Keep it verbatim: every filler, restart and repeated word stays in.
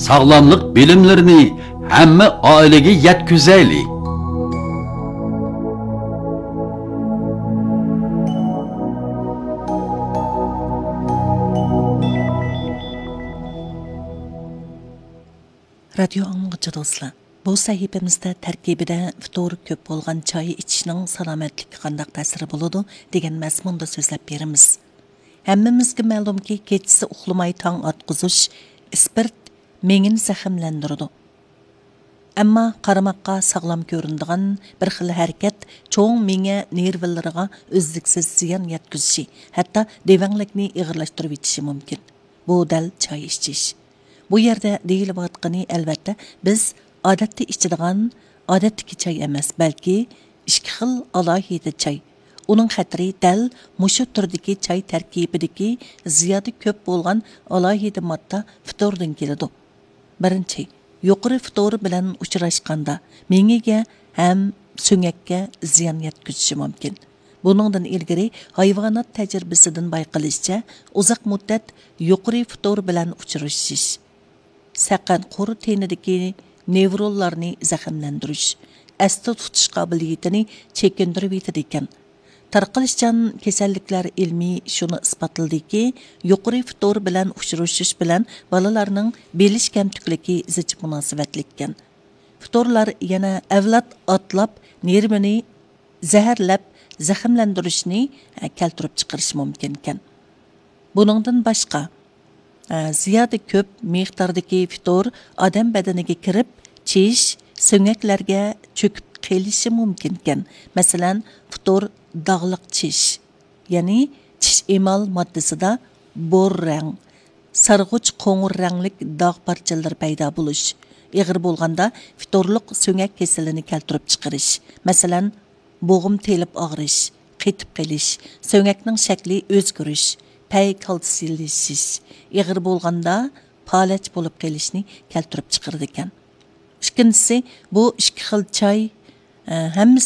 ساغلاملىق بىلىملىرىنى ھەممە ئائىلىگە يەتكۈزەيلى. رادىيو ئاڭلىغۇچى دوستلار، بۇ سەھىپىمىزدە تەركىبىدە فىتور كۆپ بولغان چاي ئىچىشنىڭ سالامەتلىككە قانداق تەسىرى بولىدۇ دېگەن مەزمۇندا سۆزلەپ بېرىمىز. ھەممىمىزگە مەلۇمكى، كېچىسى ئۇخلىماي تاڭ ئاتقۇزۇش ئىسپىرت مېڭىنى زەخىملەندۈرىدۇ. ئەمما قارىماققا ساغلام كۆرۈنىدىغان بىر خىل ھەرىكەت چوڭ مېڭە نېرۋىلىرىغا ئۈزلۈكسىز زىيان يەتكۈزۈشى، ھەتتا دېۋەڭلىكنى ئېغىرلاشتۇرۇۋېتىشى مۇمكىن. بۇ دەل چاي ئىچىش. بۇ يەردە دېيىلىۋاتقىنى، ئەلۋەتتە، بىز ئادەتتە ئىچىدىغان ئادەتتىكى چاي ئەمەس، بەلكى ئىككى خىل ئالاھىدە چاي. ئۇنىڭ خەتىرى دەل مۇشۇ تۈردىكى چاي تەركىبىدىكى زىيادە كۆپ بولغان ئالاھىدە ماددا فىتوردىن كېلىدۇ. بىرىنچى، يۇقىرى فىتور بىلەن ئۇچراشقاندا مېڭىگە ھەم سۆڭەككە زىيان يەتكۈزۈشى مۇمكىن. بۇنىڭدىن ئىلگىرى ھايۋانات تەجرىبىسىدىن بايقىلىشىچە، ئۇزاق مۇددەت يۇقىرى فىتور بىلەن ئۇچرىشىش سەقەن قۇر تېنىدىكى نېۋرونلارنى زەخىملەندۈرۈش، ئەستە تۇتۇش قابىلىيىتىنى چېكىندۈرۈۋېتىدىكەن. تارقىلىشچان كېسەللىكلەر ئىلمىي شۇنى ئىسپاتلىدىكى، يۇقىرى فىتور بىلەن ئۇچرىشىش بىلەن بالىلارنىڭ بىلىش كەمتۈكلۈكى زىچ مۇناسىۋەتلىككەن. فىتورلار يەنە ئەۋلاد ئاتلاپ نېرۋىنى زەھەرلەپ زەخىملەندۈرۈشنى، ئە، كەلتۈرۈپ چىقىرىشى مۇمكىنكەن. بۇنىڭدىن باشقا، ئە، زىيادە كۆپ مىقداردىكى فىتور ئادەم بەدىنىگە كىرىپ، چىش، سۆڭەكلەرگە چۆكۈپ قېلىشى مۇمكىنكەن. مەسىلەن، فىتور داغلىق چىش، يەنى چىش ئېمال ماددىسىدا بور رەڭ، سارغۇچ قوڭۇر رەڭلىك داغ پارچىلىرى پەيدا بولۇش، ئېغىر بولغاندا فىتورلۇق سۆڭەك كېسىلىنى كەلتۈرۈپ چىقىرىش، مەسىلەن، بوغۇم تېلىپ ئاغرىش، قېتىپ قېلىش، سۆڭەكنىڭ شەكلى ئۆزگىرىش، پەي كالتسىيلىشىش، ئېغىر بولغاندا پالەچ بولۇپ قېلىشنى كەلتۈرۈپ چىقىرىدىكەن. ئىككىنچىسى، بۇ ئىككى خىل چاي، ئە، ھەممىسى